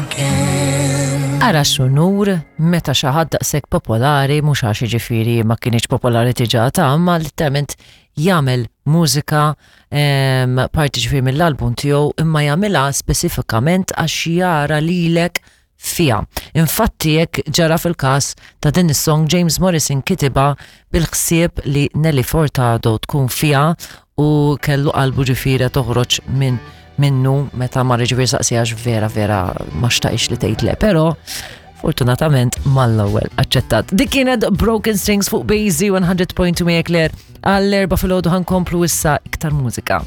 again. Ara x'unur meta xi ħadd daqshekk popolari, mhux għax jiġifieri ma kienx popolari diġà ta' imma letteralment jagħmel mużika parti ġifieri mill-album tiegħu imma jagħmilha spesifikament għax jara lilek fiha. Infatti hekk ġara fil-każ ta' din is-song James Morrison kitibha bil-ħsieb li Nelly Furtado tkun fiha u kellu qalbu ġifieri toħroġ minn minnu meta mar ġifieri saqsiha għax vera vera ma xtaqix li tgħid le, però fortunatament mal-ewwel aċċettat. Dik kienet Broken Strings fuq Bazy 100.2 Claire għall-erba' filgħodu ħankomplu issa iktar mużika.